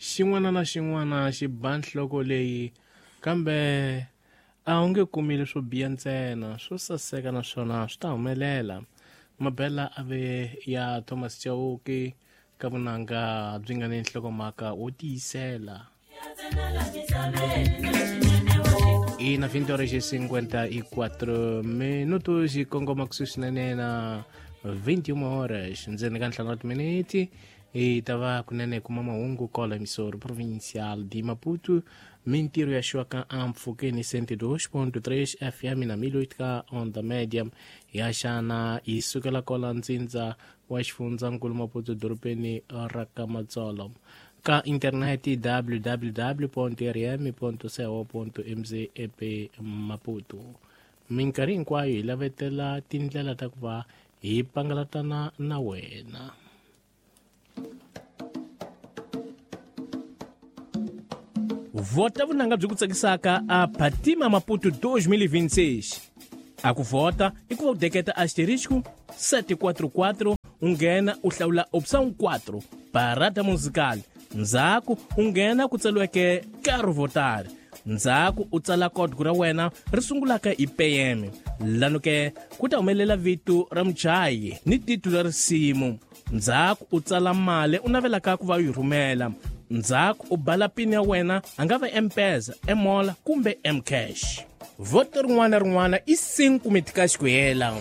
Xin'wana na xin'wana xi ba nhloko leyi, kambe a wu nge kumi leswo biha ntsena, swo saseka naswona swi ta humelela. Mabela a ve ya Thomas Chauke ka vunanga byi nga ni nhlokomhaka wo tiyisela. Ina 20 horas e 54 minutos yi kongoma kusuhi swinene na 21 horas ndzeni ka ntlhanu wa timiniti hi ta va kunene hi kuma mahungu kola emisoro provincial de Maputo mintirho ya xiwaka ampfhukeni 102.3 FM na 1008 ka onda media ya xana yi sukela kola ntsindza wa xifundzankulu Maputo dorobeni ra ka Matsolo ka interneti www.rm.co.mz ep Maputo. Minkarhi hinkwayo hi lavetela tindlela ta ku va hi pangalatana na wena. Vhota vunanga byi ku tsakisaka a Fatima Maputo 2026. A ku vhota i ku va u deketa asterisco 744 u nghena u hlawula option 4 parada musical, ndzhaku u nghena ku tsariweke Caro Votar, ndzhaku u tsala código ra wena ri sungulaka hi PM, lano ke ku ta humelela vito ra muchayi ni titulu ra risimu, ndzhaku u tsala mali u navelaka ku va u yi rhumela, ndzhaku u bala pin ya wena, a nga va M-Pesa, M-Mola kumbe M-Cash. Voto rin'wana na rin'wana i 5 mitikaxi ku hela.